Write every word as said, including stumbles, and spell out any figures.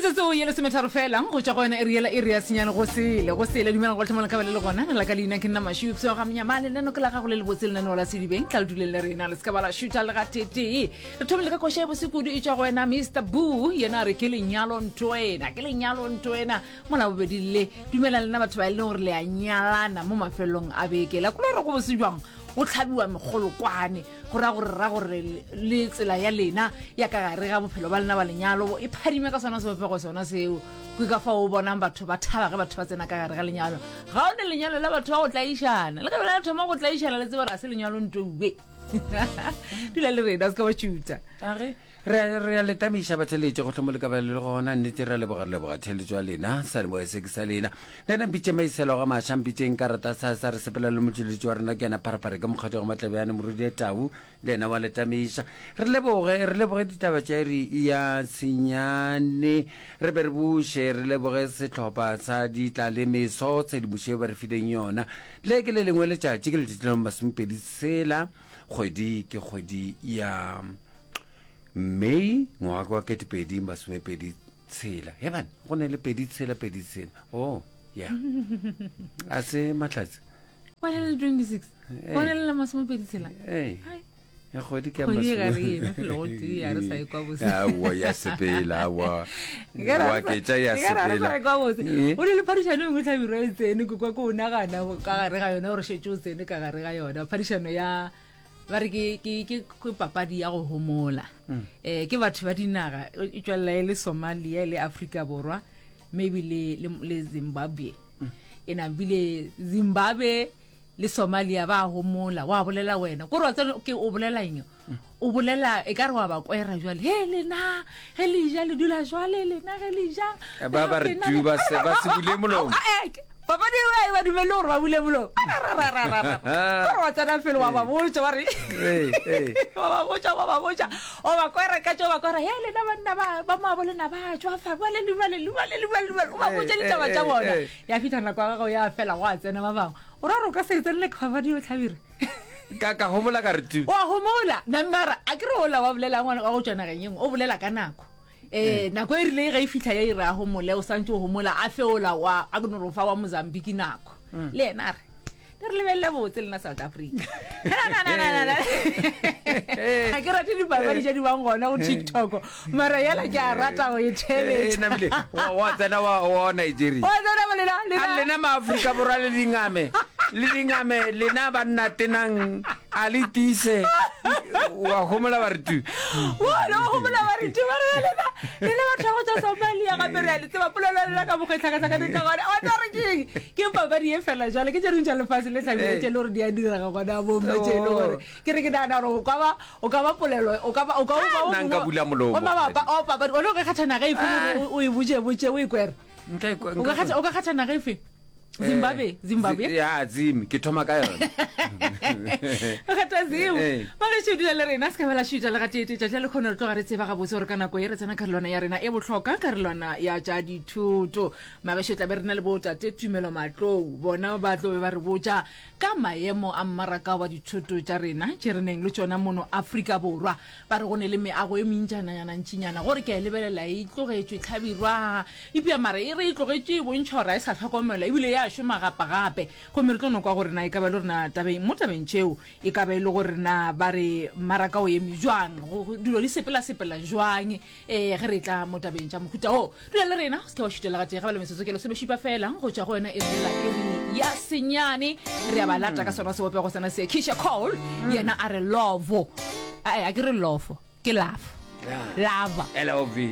Metsotso ye lesometharo fela go tšwa go yona iri yela iri ya senyane go sele go sele. Dumelang gohle mo le ka ba le le gona. La ka leina ke nna Mašupso ga Mnyamane, lenano ke la gago le lebotse lenaneo la Sedibeng. Tla le duleng le rena, le se ka ba la šutha le gatetee. Re thomile ka koša ya bose kudu e tšwa go wena Mister Boo, yena a re ke lenyalo ntwena, ke lenyalo ntwena. Mola bobedi le dumela lena batho ba e leng gore le a nyalana mo mafelong a beke. La kula gore go bose jwang go tlhabiwa megolokwane, go ra gore ra gore le tsela ya lena ya ka gare ga bophelo ba lena ba lenyalo e phadime ka sona sebopego sona seo. Ke ka fao o bonang batho ba thaba ge batho ba tsena ka gare ga lenyalo. Ga o ne lenyalo la batho ba go tlaišana, le ge bjale thoma go tlaišana le tsebe gore ga se lenyalo ntouwe. Dula le rena, o se ka ba tšutha. Age re re a le tamiša batheletše go hlomo le ka ba le gona. Nnete re a leboga, re leboga theletšo ya lena, sa leboga se ke sa lena. Le nna mpitše Maiselo ga Maša, mpitšeng ka rata sa sa re sepela le motšweletši wa rena ke yena Pharephare ke mokgatho wa Matlebjane Morudi ya Tau, le yena wa le tamiša. Re leboge, re leboge ditaba tša iri ya senyane, re be re buše, re leboge sehlopha sa ditla le meso tshedimošo yeo ba re fileng yona. Le ke le lengwe letšatši, ke letšatši la masomepedi tshela, kgwedi ke kgwedi ya May ngwaga wa ketepedi masomepedi tshela. He bana, go ne le pedi tshela pedi tshela. Oh, yeah. A se mahlatse. Wa le twenty-six. Wa le la masomepedi tshela. Hey. Ya kgwedi ke ya Kgwedi e ga re eme felo go tee, a re sa ekwa bose. Aowa, ya sepela, aowa. Wa ketša ya sepela. Ekwa bose. Eh. O ne le phadišano e nngwe hlabirwa e tsene, ke kwa ke o nagana ka gare ga yona gore šetše o tsene ka gare ga yona. Phadišano ya ba re ke, ke, ke, ke papadi ya go homola. Mm. Eh, ke batho ba dinaga, e tšwelela e le Somalia, e le Afrika Borwa, maybe le, le, le Zimbabwe. Mm. E nabile Zimbabwe le Somalia ba homola, wa bolela wena. Kore wa tseba ke o bolela eng? Mm. O bolela e ka re wa ba kwera jwale. He lena, he le ja le dula jwale lena ge le ja. Ba ba re tu ba se ba se bule molomo. Papadi eo e ba dumelle gore ba bule molomo. Gore wa tsena pele wa ba botša ba re. Wa ba botša, wa ba botša. O ba kwera ka tšo ba kwera. He lena banna ba ba moabo lena ba tšwa fa ba le le le le le le le o ba botša ditaba tša bona. Ya fihla nako ya gago ya fela go a tsena ba bangwe. O ra gore o ka se e tsenele papadi eo Hlabirwa? Ka ka homola ka re tu. Wa homola. Na mara a ke re ola wa bolela ngwana wa go tšwa nageng e nngwe o bolela ka nako. Eh, nako e rile ge e fihla ya ira homole o santse o homola a feola wa a ke no re fa wa Mozambique nako. Le yena a re le re lebelele botse lena South Africa. Ga ke rate dipapadi tše di bang gona go TikTok, mara yela ke a rata go e theeletša. Namile wa tsena wa wa Nigeria. Wa tsena bo lena lena. A lena maAfrika Borwa le dingame, le dingame lena banna tenang a le tiise. Wa homola ba re tu. Bona wa homola ba re tu ba re lena lena batho ba go tšwa Somalia gape re a le tseba polelo ya lena ka mokgwa e tlhakatlhakane ka gona. Wa tseba gore ke eng? Ke papadi ye fela jwale ke tše dingwe tša lefase le hlabile tše le gore di a direga gona mo mme tše e le gore ke re ke nagana gore o ka ba o ka ba polelo o ka ba o ka ba o Nna nka bula molomo. O mabapa o papadi o ne o ka kgatha naga efe gore o e botše botše o e kwere? Nka e kwa- O ka kgatha o ka kgatha naga efe? Zimbabwe, Zimbabwe. Ya, Zim, ke thoma ka yona. O kgetha Zim. Ee. Ba gešo dula le rena, se ka ba la šuta le gateetee. Tšatši la lekgono re tloga re tseba gabotse gore ka nako ye re tsena karolwana ya rena e bohlokwa, karolwana ya tša dithoto. Magešo tla be re na le bo tate Tumelo Matlou, bona ba tlo be ba re botša ka maemo a mmaraka wa dithoto tša rena tše re neng le tšona mono Afrika Borwa. Ba re go ne le meago e mentšananyana ntšinyana gore ke a e lebelela e tlogetšwe hlabirwa epša mara e re e tlogetšwe e bontšha gore ga e sa hlokomelwa ebile ya šoma gape-gape. Gomme re tlo no kwa gore na e ka ba e le gore na tabeng mo tabeng tšeo e ka ba e le gore na ba re mmaraka o eme jwang, go dilo di sepela-sepela jwang ee ge re tla mo tabeng tša mohuta wo. Dula le rena, o se ke wa šutela gatee, ga ba le metsotso ke lesomešupa fela go tšwa go yona e lela iri ya senyane. Re a ba lata ka sona sebopego sona se. Keisha Cole yena a re lovo. Ae, a ke re lofo, ke love. Lava. L O V.